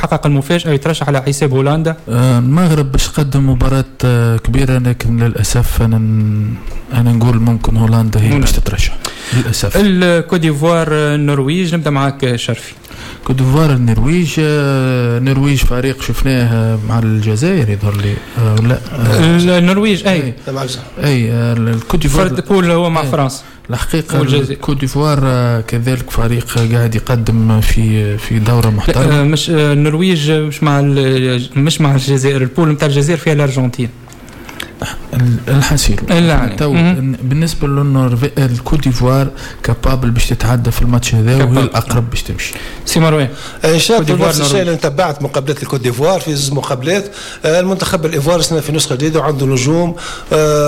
يحقق المفاجاة ويترشح على حساب هولندا؟ المغرب باش قدم مباراة كبيرة، لكن للاسف انا نقول ممكن هولندا هي باش تترشح للاسف. الكوت ديفوار النرويج، نبدا معك شرفي. كوت ديفوار النرويج، النرويج فريق شفناه مع الجزائر يظهر لي، لا النرويج اي اي الكوت ديفوار فرد poule هو مع فرنسا. الحقيقة الكوت ديفوار كذلك فريق قاعد يقدم في دوره محترمه. مش النرويج مش مع الجزائر، ال poule نتاع الجزائر فيها الارجنتين. الحسيل تو بالنسبة للكوت ديفوار capable باش تتعدى في الماتش هذا وهي الاقرب باش تمشي. سي مروان. نفس الشيء، انا تبعت مقابلات الكوت ديفوار في زوج مقابلات. المنتخب الايفوار سنة في نسخه جديدة وعنده نجوم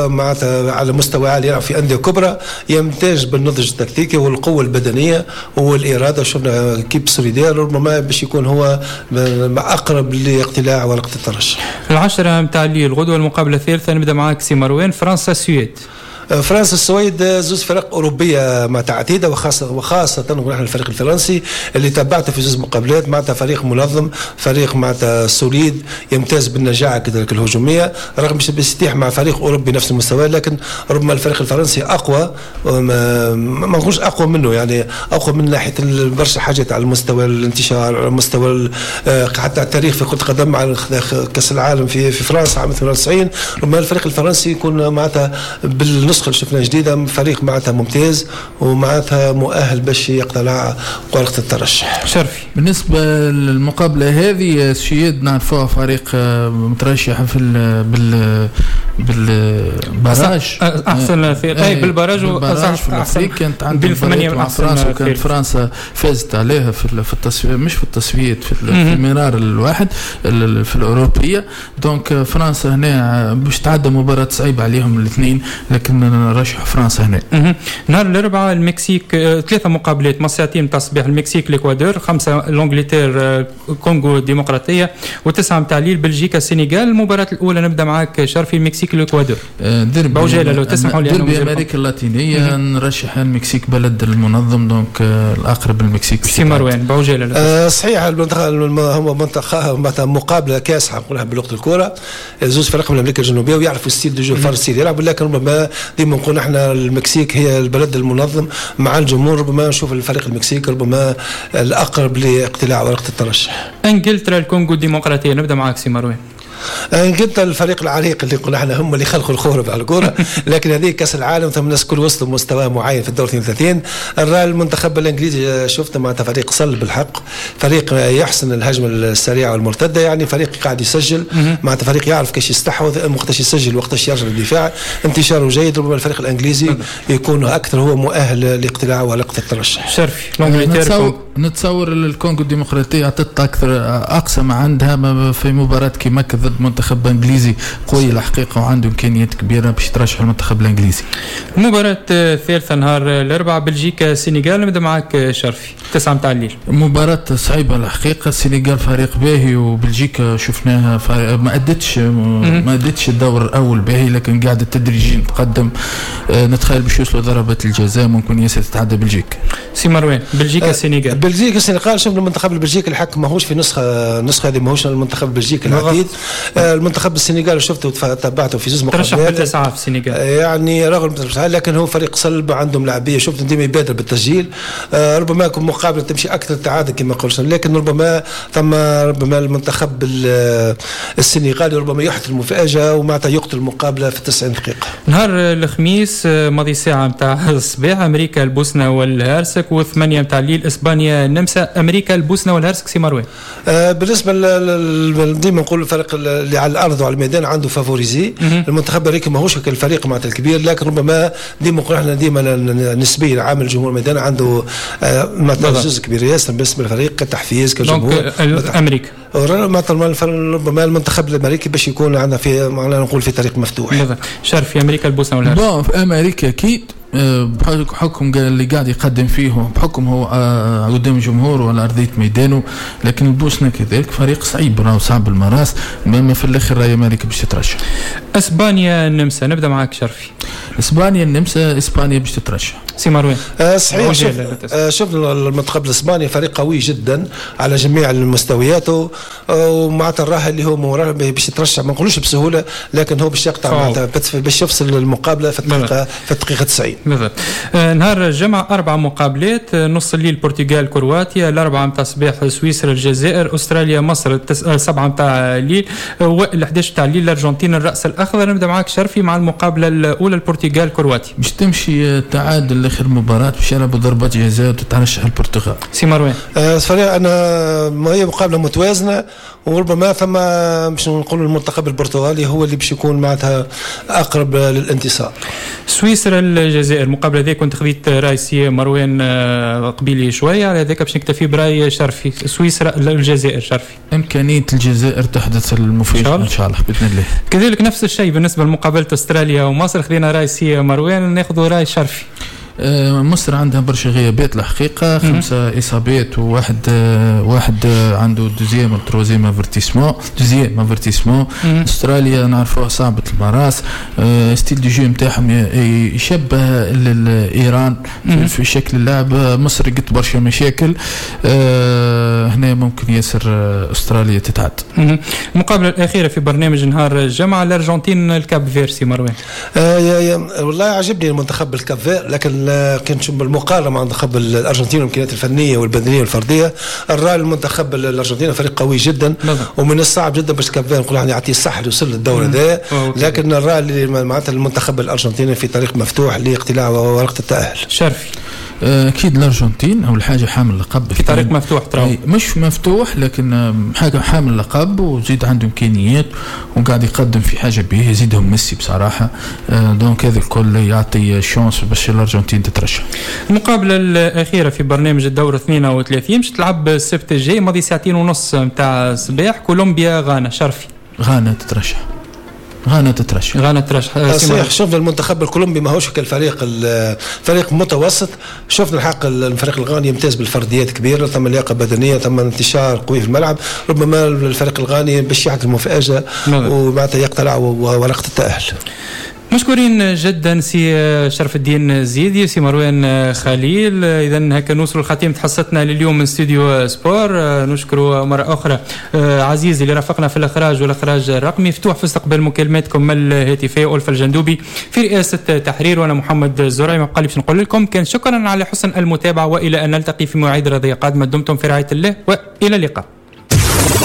معناتها على مستوى عالي يلعب في اندية كبرى، يمتاز بالنضج التكتيكي والقوه البدنية والاراده. شفنا équipe solidaire، ربما باش يكون هو اقرب لاقتلاع ورقة الترشح. 10 نتاع الليل غدوه المقابلة الثالثه، نبدا معك سي مروان، فرنسا السويد. فرنسا السويد زوج فرق اوروبية معناتها عتيده، وخاصه نحن الفريق الفرنسي اللي تبعته في زوج مقابلات، معناتها فريق منظم، فريق معناتها solide، يمتاز بالنجاعه كذلك الهجوميه، رغم مش يتيح مع فريق اوروبي نفس المستوى، لكن ربما الفريق الفرنسي اقوى، ما نقولش اقوى منه، يعني اقوى من ناحية برشا حاجات على المستوى الانتشار، على مستوى حتى التاريخ في كره القدم مع كاس العالم في فرنسا عام 98. ربما الفريق الفرنسي يكون معناتها بالنسخة اللي شفناها جديدة فريق معناتها ممتاز ومعناتها مؤهل باش يقتلع ورقة الترشح. شرفي. بالنسبة للمقابله هذه، السويد نعرفوها فريق مترشح في بال بال barrage. احسن اي بال barrage. بال barrage في افريقيا كانت عندهم مع فرنسا، وكانت فرنسا فازت عليها في التصفية، مش في التصفيات، في المرار الواحد في الاوروبيه. donc فرنسا هنا باش تعدى مباراة صعيبة عليهم الاثنين، لكن نرشح فرنسا هنا. نهار الاربعاء المكسيك، ثلاثة مقابلات مع 2 تاع الصباح، المكسيك الاكوادور، 5 l'Angleterre كونغو الديمقراطيه، و9 نتاع الليل بلجيكا السنغال. المباراة الاولى نبدا معك شرفي، المكسيك الاكوادور. ديربي بعجاله لو تسمحوا لي. ديربي امريكا اللاتينيه، نرشح المكسيك بلد المنظم، donc الاقرب المكسيك. سي مروان بعجاله. صحيح، هو منطقة مقابله كاسحه نقولها بلغه الكره، زوج فرق من امريكا الجنوبية ويعرفوا style de jeu فرنسي يلعب، لكن ربما ديما نقول احنا المكسيك هي البلد المنظم مع الجمهور، ربما نشوف الفريق المكسيكي ربما الاقرب لاقتلاع ورقة الترشح. انجلترا الكونغو الديمقراطيه، نبدا معك سي مروان. انجلترا الفريق العريق اللي قلنا احنا هم اللي خلقوا الكورة على الكوره، لكن هذه كاس العالم ثم الناس كل وصلوا مستوى معين في الدور 32. المنتخب الانجليزي شفت معناتها فريق صلب بالحق، فريق يحسن الهجمة السريعة والمرتده، يعني فريق قاعد يسجل، معناتها فريق يعرف كيفاش يستحوذ، وقتاش يسجل وقتاش يرجع للدفاع، انتشاره جيد. ربما الفريق الانجليزي يكون اكثر هو مؤهل لاقتلاع ورقة الترشح. شرفي. نتصور الكونغو الديمقراطية اعطت اكثر اقصى ما عندها في مباراة كيما ضد منتخب انجليزي قوي الحقيقة وعنده امكانيات كبيرة باش ترشح المنتخب الانجليزي. المباراة الثالثة نهار الاربعاء بلجيكا السنغال، نبدا معك شرفي، 9 متاع الليل. مباراة صعيبة الحقيقه، السنغال فريق باهي وبلجيكا شفناها ما ادتش الدور الاول باهي، لكن قاعدة تدريجيا تقدم. نتخيل باش يوصلوا ضربات الجزاء، ممكن ياسر تتعدى بلجيكا. سي مروان، بلجيكا السنغال. بلجيكا السنغال، شفنا المنتخب البلجيكي الحق ماهوش في نسخه، النسخة هذه ماهوش المنتخب البلجيكي العتيد. المنتخب السنغالي شفته تبعته في زوج مقابلات. ترشح بالتسعه في السنغال. يعني رغم، لكن هو فريق صلب، عندهم لاعبيه، شفت ديما يبادر بالتسجيل. ربما يكون مقابله تمشي اكثر تعادل كما قلت، لكن ربما ثم ربما المنتخب السنغالي ربما يحدث المفاجاة ومعناتها يقتل المقابلة في 90 دقيقه. نهار الخميس ماضي ساعة نتاع الصباح امريكا البوسنة والهرسك، و8 نتاع الليل اسبانيا النمسا. امريكا البوسنة والهرسك، سي مروان. بالنسبة ديما نقول الفريق اللي على الارض وعلى الميدان عنده favorisé. المنتخب الامريكي ماهوش الفريق معناتها الكبير، لكن ربما ديما نقول احنا ديما نسبيا عامل الجمهور الميدان عنده معناتها جزء كبير ياسر بالنسبة للفريق كتحفيز كجمهور. امريكا ربما المنتخب الامريكي باش يكون عندنا في معناها نقول في طريق مفتوح. شرف، في امريكا البوسنة والهرسك. bon، في امريكا اكيد بحكم اللي قاعد يقدم فيه، بحكم هو قدام جمهور ولا ارضية ميدانه، لكن البوسنة كذلك فريق صعيب، راهو صعب المراس، ما في الاخر راهي امريكا باش تترشح. اسبانيا النمسا، نبدا معك شرفي. اسبانيا النمسا، اسبانيا باش تترشح. سي مروان. صحيح، شفنا المنتخب الاسباني فريق قوي جدا على جميع المستويات، ومعناتها الراحة اللي هو باش يترشح ما نقولوش بسهولة، لكن هو باش يقطع معناتها باش يفصل المقابلة في الدقيقة 90. بالضبط. نهار الجمعة 4 مقابلات، نص الليل البرتغال كرواتيا، 4 متاع الصباح سويسرا الجزائر، استراليا مصر 7 متاع الليل، و11 تاع الليل الارجنتين الراس الاخضر. نبدا معاك شرفي مع المقابلة الاولى البرتغال كرواتيا. باش تمشي تعادل لاخر مباراة باش يلعبوا ضربات جزاء وتترشح البرتغال. سي مروان. فريق انا ما هي مقابله متوازنة، وربما ثم باش نقولوا المنتخب البرتغالي هو اللي باش يكون معناتها اقرب للانتصار. سويسرا الجزائر المقابلة هذه كنت خذيت راي سي مروان قبيلي شوية على هذاك باش نكتفي براي شرفي. سويسرا الجزائر شرفي. امكانية الجزائر تحدث المفاجاة ان شاء الله باذن الله. كذلك نفس الشيء بالنسبة لمقابلة استراليا ومصر، خذينا راي سي مروان، ناخذ راي شرفي. مصر عندها برشا غيابات الحقيقة، 5 اصابات وواحد واحد عنده deuxième troisième avertissement، deuxième avertissement. استراليا نعرفوها صعبة المراس، style de jeu نتاعهم يشبه ايران في شكل اللعب. مصر قد برشا مشاكل، هنا ممكن ياسر استراليا تتعد. المقابلة الاخيرة في برنامج نهار الجمعة الارجنتين الكاب فير. سي مروان. والله عجبني المنتخب الكاب فير، لكن كان نشوف بالمقارنة مع منتخب الارجنتين والامكانيات الفنية والبدنيه والفرديه، الرأي المنتخب الارجنتيني فريق قوي جدا، ومن الصعب جدا باش كاب فير نقول يعني يعطيه الصح اللي وصل للدور هذا، لكن الرأي اللي معناتها المنتخب الارجنتيني في طريق مفتوح لاقتلاع ورقة التاهل. شرفي. اكيد الارجنتين اول حاجة حامل لقب في طريق مفتوح، ترى مش مفتوح لكن حاجة حامل لقب، وزيد عنده امكانيات وقاعد يقدم في حاجة به، يزيدهم ميسي بصراحة. donc هذا الكل يعطي chance باش الارجنتين تترشح. المقابلة الاخيرة في برنامج الدور 32 باش تلعب السبت الجاي ماضي 2:30 نتاع الصباح، كولومبيا غانا. شرفي. غانا تترشح. غانا تترشح. غانا تترشح. صحيح، شفنا المنتخب الكولومبي ماهوش كالفريق، فريق متوسط. شفنا الحق الفريق الغاني يمتاز بالفرديات كبيرة، ثم لياقه بدنية، ثم انتشار قوي في الملعب. ربما الفريق الغاني باش يحدث المفاجاة ومعناتها يقتلع ورقة التاهل. مشكورين جدا سي شرف الدين زيدي وسي مروان خليل. اذا هكا نوصلوا لختيمة حصتنا لليوم من استوديو سبور. نشكر مرة اخرى عزيز اللي رافقنا في الاخراج والاخراج الرقمي، فتوح في استقبال مكالماتكم الهاتفية، ألفة الجندوبي في رئاسة تحرير، وانا محمد الزرعي. ما بقى لي باش نقول لكم كان شكرا على حسن المتابعة، والى ان نلتقي في مواعيد رياضية قادمة. دمتم في رعاية الله والى اللقاء.